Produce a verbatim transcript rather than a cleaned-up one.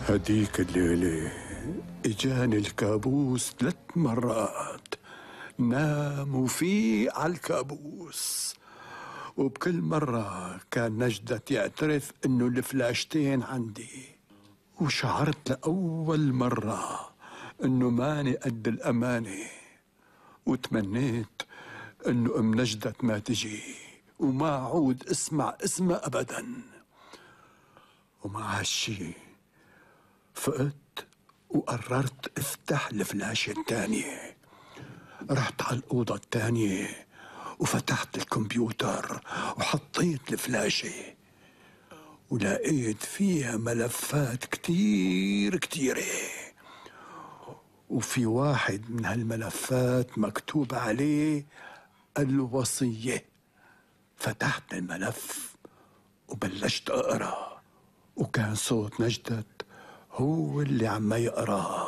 هديك الليلة اجاني الكابوس ثلاث مرات، نام وفيق عالكابوس، وبكل مرة كان نجدت يعترف انه الفلاشتين عندي، وشعرت لأول مرة انه ماني قد الأمانة، وتمنيت انه ام نجدت ما تجي وما اعود اسمع اسمها ابدا. ومع هالشي فقت وقررت افتح الفلاشة التانية. رحت على الأوضة التانية وفتحت الكمبيوتر وحطيت الفلاشة، ولقيت فيها ملفات كتير كتيرة، وفي واحد من هالملفات مكتوب عليه الوصية. فتحت الملف وبلشت أقرأ، وكان صوت نجدت هو اللي عم يقرأ.